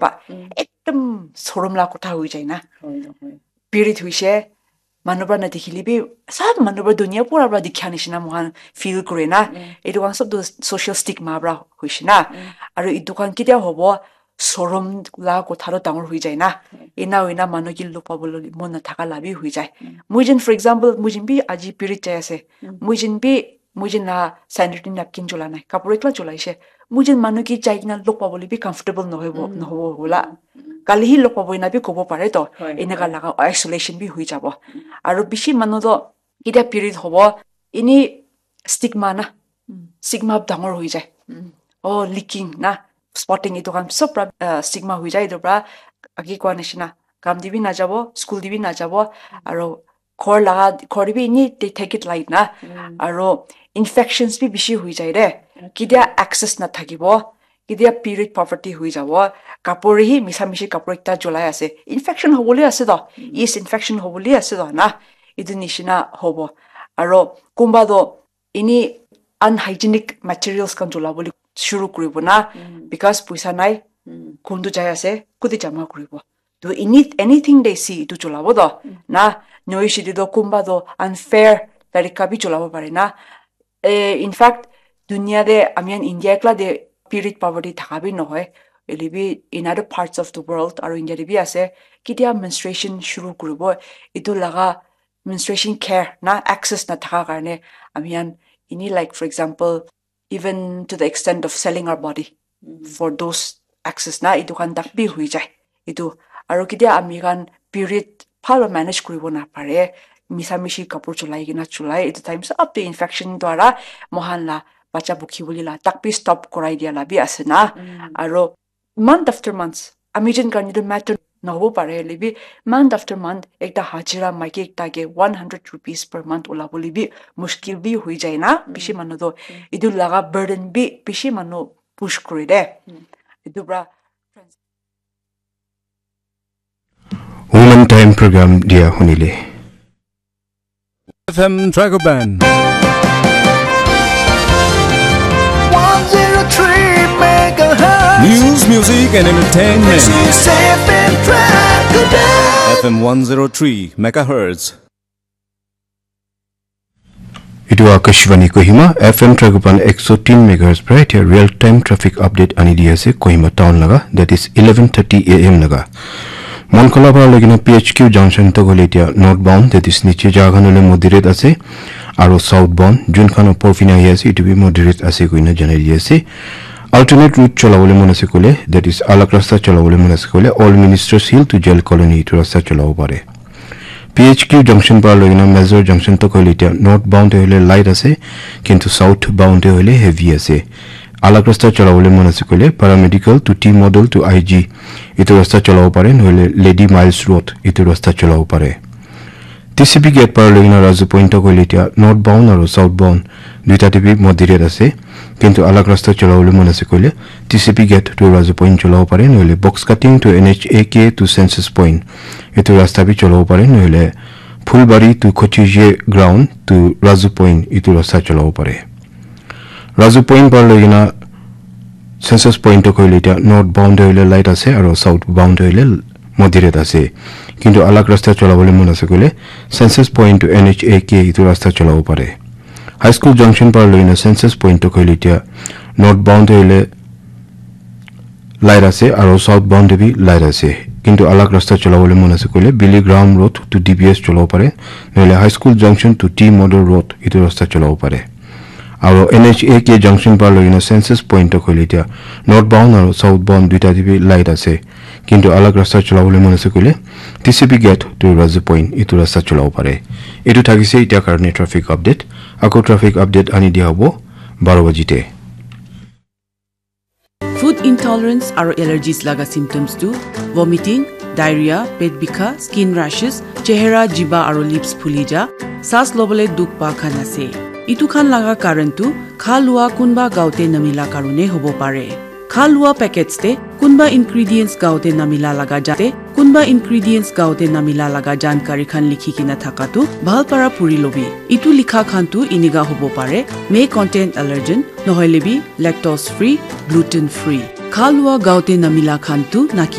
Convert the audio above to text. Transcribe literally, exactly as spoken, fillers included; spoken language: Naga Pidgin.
Ba, ekdom sorom la kotha hoi jai na. Period hoise, manu para na dikhile bi, sab manu para dunia pura para dikha nishina moikhan feel kure na. Etu khan sab tu social stigma para hoise na. Aru etu khan ketia hobo, sorom la kotha toh dangor hoi jai na. Ena hoina manu ke log pabole mon nathaka la bi hoi jai. Moi jen, for example, moi jen bi aji period jai ase. Moi jen bi, moi jen la sanitary napkin chola nai, kapur ekla cholaise. Moi jen manu ke jai kena log pabole bi comfortable nohoibo, nohobo hola. Kali hi log pabo ena bi kobo pare to. Eneka laga isolation bi hoi jabo. Aru bishi manu toh ketia period hobo, ini stigma na. Stigma dangor hoi jai. Oh, leaking na, spotting, etu khan sob pra, uh, stigma hoi jai. Etu pra agi koa nishina, kam te bi najabo, school te bi najabo, aro ghor laga, ghor te bi ini they take it light na. Aro infections bi bishi hoi jai de. Ketia access na thakibo, ketia period poverty hoi jabo, kapur hi misa mishi kapur ekta cholai ase, infection hobole ase to, is infection hobole ase to na, etu nishina hobo. Aro kunba to ini unhygienic materials khan chola bole shuru kuribo na, because puisa nai, kun tu jai ase, kuti jama kuribo. To ini, anything they see, itu cholabo to na, noise to kunba to unfair tarika bi cholabo pare na. Eh, in fact, dunia de ami khan India ekla de period poverty thaka bi nohoi. Hoile bi in other parts of the world, aru India de bi ase, ketia menstruation shuru kuribo, itu laga menstruation care na access na thaka karne ami khan ini, like, for example, even to the extent of selling our body for those access na, itu khan tak bi hui jai. Itu, aru ketia ami khan period bhal manage kuribo na pare, misa mishi kapur cholai kena cholai, itu time sab te infection dwara mohan la bacha bukhi bole la tak bi stop korai dia la bi ase na. Aru month after months, ami jen karne tu matter nohobo pare, hoile bi month after month ekta hajira maiki ekta ke one hundred rupees per month ulabole bi mushkil bi hoi jai na. Bishi manu to itu laga burden bi bishi manu push kore de. Itu pra Women Time program dia hunile. F M Dragoban. One zero three megahertz. News, music, and entertainment. This is F M Dragoban. F M one zero three megahertz. Itu Akashvani Kohima, F M Dragoban ekso tin megahertz para etia real time traffic update ani di ase Kohima town laga, that is eleven thirty A M laga. Monkola para lagina P H Q junction to gole etia northbound, that is niche jaga khan hole moderate ase, aro southbound, jun khan upor fina ahi ase, itu bi moderate ase koina janai di ase. Alternate route chola bole mon ase koile, that is alag rasta chola bole mon ase koile, Old Ministers Hill to Jail Colony itu rasta chola bo pare. P H Q junction para loikena Major junction tak hoile etia northbound te hoile light ase, kintu southbound te hoile heavy ase. Alag rasta cholabole mon ase koile paramedical to T model to I G etu rasta cholabo pare, nohole Lady Miles Road etu rasta cholabo pare. T C P gate para loikena Razu Point tak hoile etia northbound aru southbound duita te bi moderate ase, kintu alag rasta cholabole mon ase koile T C P gate to Razu Point cholabo pare, nohole Box Cutting to N H A K to Census Point etu rasta bi cholabo pare, nohole Phulbari to Kochije ground to Razu Point etu rasta cholabo pare. Razu Point para loikena Census Point to koile etia northbound te hoile light ase aru southbound te hoile moderate ase. Kintu alag rasta cholabole mon ase koile Census Point to N H A K etu rasta cholabo pare. High School Junction para loikena Census Point to koile etia northbound te hoile light ase aru southbound te bi light ase. Kintu alag rasta cholabole mon ase koile Billy Graham Road to D B S cholabo pare, nohole High School Junction to T Model Road etu rasta cholabo pare. Aru N H A K junction para loikena Census Point to koile etia northbound aru southbound duita te bi light ase. Kintu alag rasta cholabole mon ase koile T C P gate to Razu Point etu rasta cholabo pare. Etu thakise etia karne traffic update. Ako traffic update ani dia hobo baro baji te. Food intolerance aru allergies laga symptoms tu vomiting, diarrhea, pet bikha, skin rashes, chehra, jiba aru lips phuli ja, saas lobole dukh pa khan ase. Itu khan laga karan tu kha lua kunba gaote namila karone hobo pare. Kha lua packets te kunba ingredients gaote namila laga jate kunba ingredients gaote namila laga jankari khan likhi kena thaka tu bhal para puri lobi. Itu likha khan tu iniga hobo pare, may contain allergen, nohoile bi lactose free, gluten free. Khalwa gaote namila khan tu naki